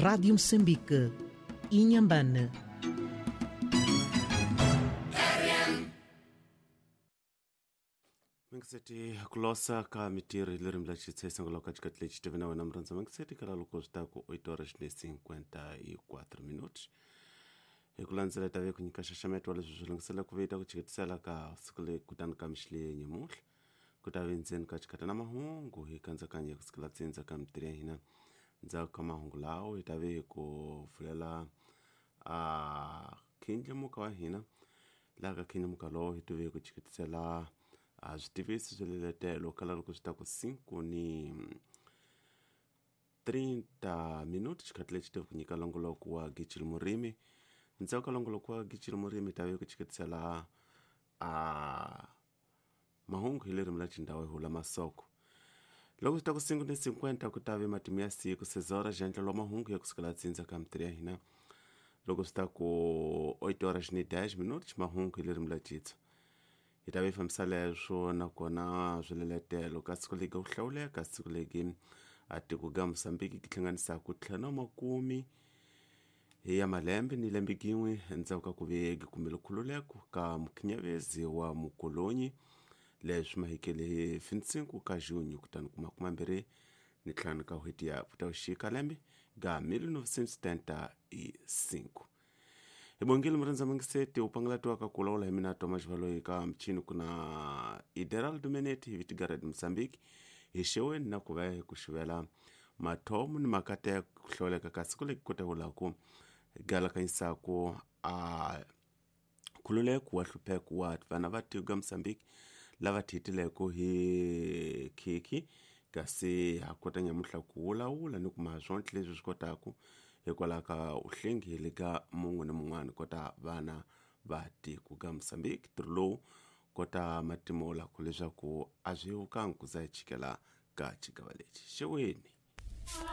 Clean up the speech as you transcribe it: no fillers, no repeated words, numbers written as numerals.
Rádio Moçambique, Inhambane. Mangiseti kulosa ka mitiri lerimi la xitshesengo loko xikati lexi tive na wena murhandza mangiseti kala loko swi ta ku 8 horas ne 54 minutos hi ku landzela tave ku nyika xaxameto wa leswi swi lunghisela ku vita ku chiketisela ka siku leyi kutani ka mixile nyamuhla ku ta ve ndzeni ka xikata na mahungu hi kandzakanya ku sikela tsindza ka mitiri ya hina ndzhaku ka mahungu lawo hi ta ve ku pfulela a khindlimuka wa hina laha ka khindlimuka lowo hi tive ku chiketisela a swi tivisi swi leletelo kala loko swi ta ku 5 ni 30 minuti xikhathi lexi tive ku nyika longoloko wa Gicil Murimi ndzhaku ka longoloko wa Gicil Murimi ta ve ku chiketisela a mahungu hi lerimi la xindhawu hi hula masoko loko swi ta ku 5 ni 50 ku ta ve matimu ya siku sezora xandla lwa mahungu ya kusukela tsindza ka mitiri ya hina loko swi ta ku 8 horas ni 10 minuti mahungu hi lerimi la xitswa hi ta ve fambisa leswo nakona swileletelo ka siku legi ku hlawuleka siku legi a tiko ga Mosambiki ki hlanganisaka ntlhanu wa makume hi ya malembe ni lembe gin'we endzhaku ka ku ve kumbe khululeko ka mukhinyavezi wa mukolonyi leswi mahikele hi 25 ka junho kutani ku 25 ka n'hweti ya Putauxika lembe ga 1975 hi bongile murhandza mangiseti u pangalatiwaka ku lawula hi mina Thomas Valoyi ka michini ku na Ideraldo Meneti hi Vitigared Mozambique hi xeweni na ku va hi ku xivela mathomo ni makateko ku hlawuleka ka siku leki kotavulaku galakanyisaku a khululeko wa hlupheko wa vana va tiko ga Mozambique lava thitileko hi khikhi kasi ha kota nyamuhla ku wulawula ni kuma swontle leswi swi kotaku hikwalaho ka uhlengile ka mun'we ni mun'wana kota vana va tiko ga Mozambique ntirho lowu kota matimo laku leswaku a swi vukangi ku za hi chikela ka xigava lexi xeweni.